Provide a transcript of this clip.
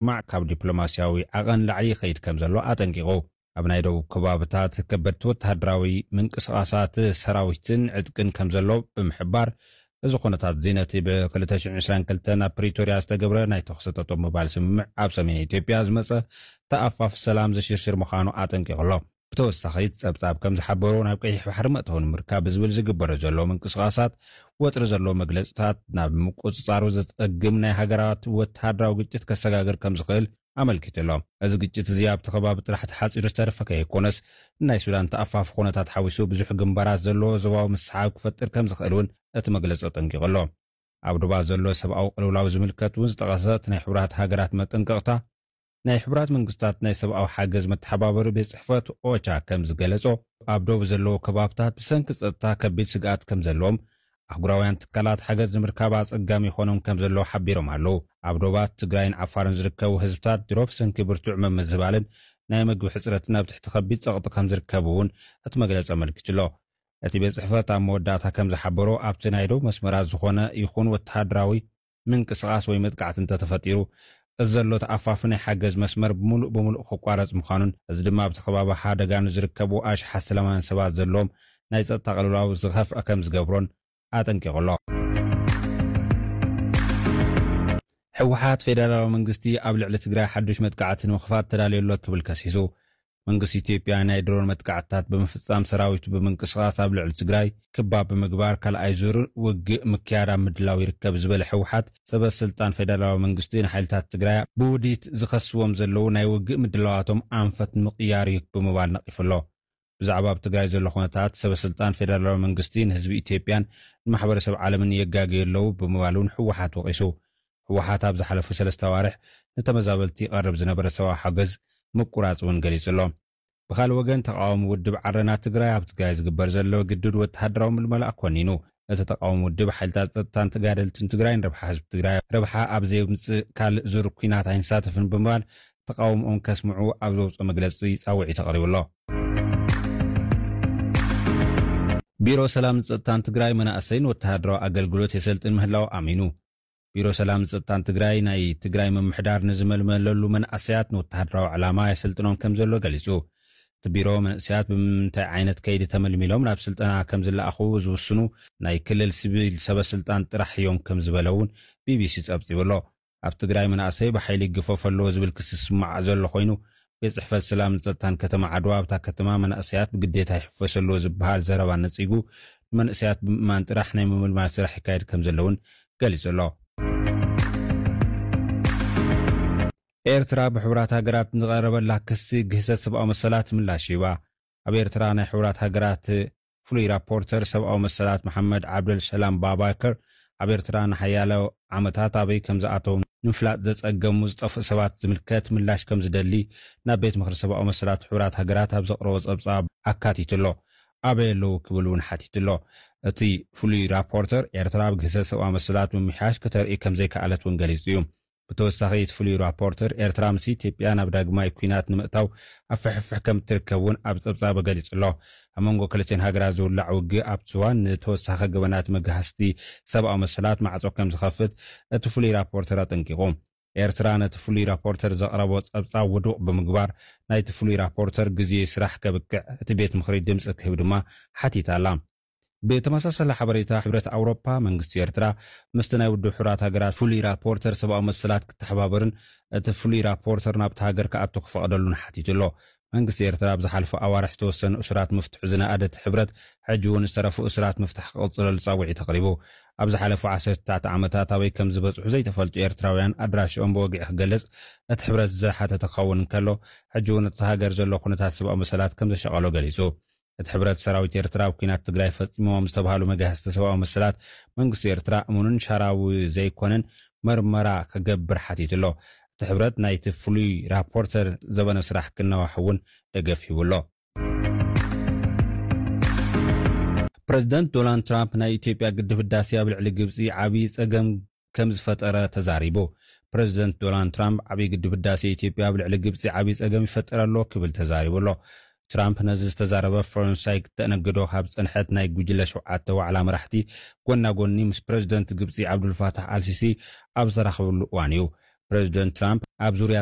ብምስማዕ ካብ ዲፕሎማስያዊ ዓቐን ላዕሊ ይኸይድ ከም ዘሎ ኣጠንቂቑ። ኣብ ናይ ደቡብ ከባብታት ከበድቲ ወተሃደራዊ ምንቅስቓሳት ሰራዊትን ዕጥቅን ከም ዘሎ ብምሕባር፣ እዚ ኩነታት እዚ ነቲ ብ ክልተ ሽሕን ዕስራን ክልተን ኣብ ፕሪቶርያ ዝተገብረ ናይ ተኹሲ ጠጠው ምባል ስምምዕ ኣብ ሰሜን ኢትዮጵያ ዝመጸ ተኣፋፊ ሰላም ዝሽርሽር ምዃኑ ኣጠንቂቑ ኣሎ። ብተወሳኺ እቲ ጸብጻብ ከም ዝሓበሮ፣ ናብ ቀይሕ ባሕሪ መእተዊ ንምርካብ ብዝብል ዝግበረ ዘሎ ምንቅስቓሳት ወጥሪ ዘለዎ መግለጽታት ናብ ምቁጽጻሩ ዘጸግም ናይ ሃገራት ወተሃደራዊ ግጭት ከሰጋግር ከም ዝኽእል ኣመልኪቱ ኣሎ። እዚ ግጭት እዚ ኣብቲ ከባቢ ጥራሕ ተሓጺሩ ዝተረፈ ከይኮነስ፣ ናይ ሱዳን ተኣፋፊ ኩነታት ሓዊሱ ብዙሕ ግንባራት ዘለዎ ዞባዊ ምስሓብ ክፈጥር ከም ዝኽእል እውን እቲ መግለጺ ኣጠንቂቑ ኣሎ። ኣብ ዶባት ዘሎ ሰብኣዊ ቅልውላው ዝምልከት እውን ዝጠቐሰ እቲ ናይ ሕቡራት ሃገራት መጠንቀቕታ፣ ናይ ሕቡራት መንግስታት ናይ ሰብኣዊ ሓገዝ መተሓባበሪ ቤት ጽሕፈት ኦቻ ከም ዝገለጾ፣ ኣብ ዶብ ዘለዉ ከባብታት ብሰንኪ ጸጥታ ከቢድ ስግኣት ከም ዘለዎም፣ ኣህጉራውያን ትካላት ሓገዝ ንምርካብ ኣጸጋሚ ይኾኖም ከም ዘሎ ሓቢሮም ኣለዉ። ኣብ ዶባት ትግራይን ዓፋርን ዝርከቡ ህዝብታት ድሮ ብሰንኪ ብርቱዕ ምምዝባልን ናይ ምግቢ ሕጽረትን ኣብ ትሕቲ ከቢድ ጸቕጢ ከም ዝርከቡ እውን እቲ መግለጺ ኣመልኪቱ ኣሎ። እቲ ቤት ጽሕፈት ኣብ መወዳእታ ከም ዝሓበሮ፣ ኣብቲ ናይ ደቡብ መስመራት ዝኾነ ይኹን ወተሃደራዊ ምንቅስቓስ ወይ መጥቃዕቲ እንተተፈጢሩ፣ እዚ ዘሎ ተኣፋፊ ናይ ሓገዝ መስመር ብምሉእ ብምሉእ ክቋረጽ ምዃኑን፣ እዚ ድማ ኣብቲ ከባቢ ሓደጋ ንዝርከቡ ኣሽሓት ሰላማውያን ሰባት ዘለዎም ናይ ጸጥታ ቅልውላው ዝኸፍአ ከም ዝገብሮን ኣጠንቂቑ ኣሎ። ህወሓት ፌደራላዊ መንግስቲ ኣብ ልዕሊ ትግራይ ሓዱሽ መጥቃዕቲ ንምኽፋት ተዳልዩ ኣሎ ክብል ከሲሱ። መንግስቲ ኢትዮጵያ ናይ ድሮን መጥቃዕትታት ብምፍጻም፣ ሰራዊቱ ብምንቅስቓስ ኣብ ልዕሊ ትግራይ ክባብ ብምግባር ካልኣይ ዙር ውግእ ምክያድ ኣብ ምድላው ይርከብ ዝበለ ህወሓት፣ ሰበ ስልጣን ፌደራላዊ መንግስቲ ንሓይልታት ትግራይ ብውዲት ዝኸስዎም ዘለዉ ናይ ውግእ ምድላዋቶም ኣንፈት ንምቕያር እዩ ብምባል ነቒፉ ኣሎ። ብዛዕባ ኣብ ትግራይ ዘሎ ኩነታት፣ ሰበ ስልጣን ፌደራላዊ መንግስቲ ንህዝቢ ኢትዮጵያን ንማሕበረሰብ ዓለምን የጋግዩ ኣለዉ ብምባል እውን ህወሓት ወቒሱ። ህወሓት ኣብ ዝሓለፉ ሰለስተ ኣዋርሕ ንተመዛበልቲ ይቐርብ ዝነበረ ሰብኣዊ ሓገዝ ምቁራጽ እውን ገሊጹ ኣሎ። ብኻልእ ወገን፣ ተቓዋሚ ውድብ ዓረና ትግራይ ኣብ ትግራይ ዝግበር ዘሎ ግዱድ ወተሃደራዊ ምልመላ ኮኒኑ። እቲ ተቓዋሚ ውድብ፣ ሓይልታት ጸጥታን ተጋደልትን ትግራይ ንረብሓ ህዝቢ ትግራይ ረብሓ ኣብ ዘየምጽእ ካልእ ዙር ኲናት ኣይንሳተፍን ብምባል ተቓውሞኦም ከስምዑ ኣብ ዘውፅኦ መግለፂ ፃውዒት ኣቕሪቡ ኣሎ። ቢሮ ሰላምን ጸጥታን ትግራይ መናእሰይን ወተሃደራዊ ኣገልግሎት የሰልጥን ምህላው ኣሚኑ። ቢሮ ሰላምን ጸጥታን ትግራይ ናይ ትግራይ ምምሕዳር ንዝመልመለሉ መንእሰያት ንወተሃደራዊ ዕላማ የሰልጥኖም ከም ዘሎ ገሊጹ። እቲ ቢሮ መንእሰያት ብምንታይ ዓይነት ከይዲ ተመልሚሎም ናብ ስልጠና ከም ዝለኣኹ ዝውስኑ ናይ ክልል ሲቪል ሰበ ስልጣን ጥራሕ እዮም ከም ዝበለ እውን ቢቢሲ ጸብጺቡ ኣሎ። ኣብ ትግራይ መናእሰይ ብሓይሊ ይግፈፍ ኣለዎ ዝብል ክሲ ዝስማዕ ዘሎ ኮይኑ፣ ቤት ጽሕፈት ሰላምን ጸጥታን ከተማ ዓድዋ ኣብታ ከተማ መናእሰያት ብግዴታ ይሕፈስ ኣለዎ ዝበሃል ዘረባ ነጺጉ፣ ንመንእሰያት ብምእማን ጥራሕ ናይ ምምልማል ስራሕ ይካየድ ከም ዘሎ እውን ገሊጹ ኣሎ። ኤርትራ ብሕቡራት ሃገራት ንዝቐረበላ ክሲ ግህሰት ሰብኣዊ መሰላት ምላሽ ሂባ። ኣብ ኤርትራ ናይ ሕቡራት ሃገራት ፍሉይ ራፖርተር ሰብኣዊ መሰላት መሓመድ ዓብደል ሰላም ባባከር፣ ኣብ ኤርትራ ንሓያሎ ዓመታት ኣበይ ከም ዝኣተው ንምፍላጥ ዘጸገሙ ዝጠፍኡ ሰባት ዝምልከት ምላሽ ከም ዝደሊ ናብ ቤት ምኽሪ ሰብኣዊ መሰላት ሕቡራት ሃገራት ኣብ ዘቕረቦ ጸብጻብ ኣካቲቱ ኣሎ። ኣበይ ኣለዉ ክብል እውን ሓቲቱ ኣሎ። እቲ ፍሉይ ራፖርተር፣ ኤርትራ ኣብ ግህሰት ሰብኣዊ መሰላት ምምሕያሽ ከተርኢ ከም ዘይከኣለት እውን ገሊጹ እዩ። ብተወሳኺ፣ እቲ ፍሉይ ራፖርተር፣ ኤርትራ ምስ ኢትዮጵያ ናብ ዳግማይ ኲናት ንምእታው ኣብ ፍሕፍሕ ከም እትርከብ እውን ኣብ ጸብጻቡ ገሊጹ ኣሎ። ኣብ መንጎ ክልቲኦን ሃገራት ዝውላዕ ውግእ ኣብቲ እዋን ንተወሳኺ ገበናት መግሃስቲ ሰብኣዊ መሰላት ማዕጾ ከም ዝኸፍት እቲ ፍሉይ ራፖርተር ኣጠንቂቑ። ኤርትራ ነቲ ፍሉይ ራፖርተር ዘቕረቦ ጸብጻብ ውዱቕ ብምግባር፣ ናይቲ ፍሉይ ራፖርተር ግዜ ስራሕ ከብቅዕ እቲ ቤት ምኽሪ ድምጺ ክህብ ድማ ሓቲታ ኣላ። ብተመሳሳሊ ሓበሬታ፣ ሕብረት ኣውሮፓ መንግስቲ ኤርትራ ምስቲ ናይ ውድብ ሕቡራት ሃገራት ፍሉይ ራፖርተር ሰብኣዊ መሰላት ክተሓባበርን እቲ ፍሉይ ራፖርተር ናብቲ ሃገር ክኣቱ ክፈቕደሉን ሓቲቱ ኣሎ። መንግስቲ ኤርትራ ኣብ ዝሓለፈ ኣዋርሕ ዝተወሰኑ እሱራት ምፍትሑ ዝነኣደ እቲ ሕብረት፣ ሕጂ እውን ዝተረፉ እሱራት ምፍታሕ ክቕጽለሉ ጻውዒት ኣቕሪቡ። ኣብ ዝሓለፉ ዓሰርተታት ዓመታት ኣበይ ከም ዝበጽሑ ዘይተፈልጡ ኤርትራውያን ኣድራሽኦም ብወግዒ ክገልጽ እቲ ሕብረት ዝሓተተ ክኸውን እንከሎ፣ ሕጂ እውን እቲ ሃገር ዘሎ ኩነታት ሰብኣዊ መሰላት ከም ዘሻቐሎ ገሊጹ። እቲ ሕብረት፣ ሰራዊት ኤርትራ ኣብ ኲናት ትግራይ ፈጺሞም ዝተባህሉ መግሃስቲ ሰብኣዊ መሰላት መንግስቲ ኤርትራ እሙንን ሻራዊ ዘይኮነን መርመራ ክገብር ሓቲቱ ኣሎ። እቲ ሕብረት ናይቲ ፍሉይ ራፖርተር ዘበነ ስራሕ ክነዋሕ እውን ደገፍ ሂቡ ኣሎ። ፕረዚደንት ዶናልድ ትራምፕ ናይ ኢትዮጵያ ግድብ ህዳሴ ኣብ ልዕሊ ግብጺ ዓብዪ ጸገም ከም ዝፈጠረ ተዛሪቡ። ፕረዚደንት ዶናልድ ትራምፕ፣ ዓብዪ ግድብ ህዳሴ ኢትዮጵያ ኣብ ልዕሊ ግብጺ ዓብዪ ጸገም ይፈጥር ኣሎ ክብል ተዛሪቡ ኣሎ። ትራምፕ ነዚ ዝተዛረበ፣ ፈረንሳይ ክተኣነግዶ ካብ ዝጸንሐት ናይ ጉጅለ ሸውዓተ ዋዕላ መራሕቲ ጎና ጎኒ ምስ ፕረዚደንት ግብጺ ዓብዱልፋታሕ ኣልሲሲ ኣብ ዝተራኸበሉ እዋን እዩ። ፕረዚደንት ትራምፕ ኣብ ዙርያ